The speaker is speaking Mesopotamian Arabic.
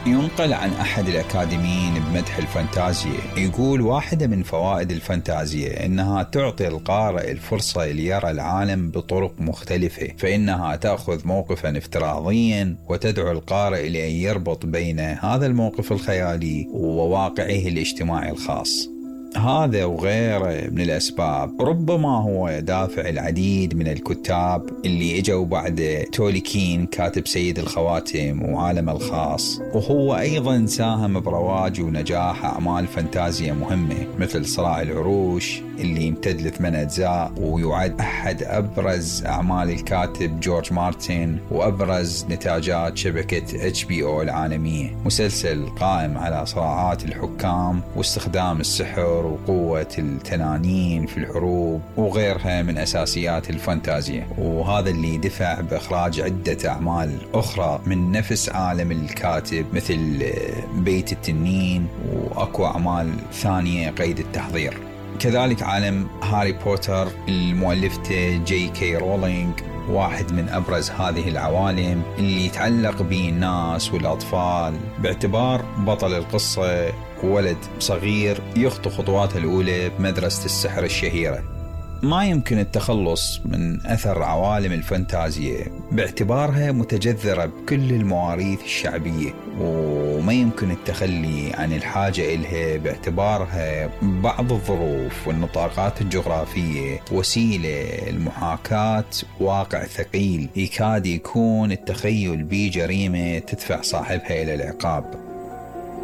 ينقل عن أحد الأكاديميين بمدح الفانتازيا، يقول واحدة من فوائد الفانتازيا إنها تعطي القارئ الفرصة ليرى العالم بطرق مختلفة، فإنها تأخذ موقفا افتراضيا وتدعو القارئ لأن يربط بين هذا الموقف الخيالي وواقعه الاجتماعي الخاص. هذا وغيره من الأسباب ربما هو دافع العديد من الكتاب اللي اجوا بعد تولكين كاتب سيد الخواتم وعالم الخاص، وهو أيضا ساهم برواج ونجاح أعمال فانتازيا مهمة مثل صراع العروش اللي يمتد ل8 أجزاء ويعد أحد أبرز أعمال الكاتب جورج مارتن وأبرز نتاجات شبكة HBO العالمية، مسلسل قائم على صراعات الحكام واستخدام السحر وقوة التنانين في الحروب وغيرها من أساسيات الفانتازيا، وهذا اللي دفع بإخراج عدة أعمال أخرى من نفس عالم الكاتب مثل بيت التنين وأكو أعمال ثانية قيد التحضير. كذلك عالم هاري بوتر المؤلفته جي كي رولينج واحد من أبرز هذه العوالم اللي يتعلق به الناس والأطفال، باعتبار بطل القصة ولد صغير يخطو خطواته الأولى بمدرسة السحر الشهيرة. ما يمكن التخلص من أثر عوالم الفانتازيا باعتبارها متجذرة بكل المواريث الشعبية، وما يمكن التخلي عن الحاجة إلها باعتبارها بعض الظروف والنطاقات الجغرافية وسيلة لمحاكاة واقع ثقيل يكاد يكون التخيل به جريمة تدفع صاحبها إلى العقاب.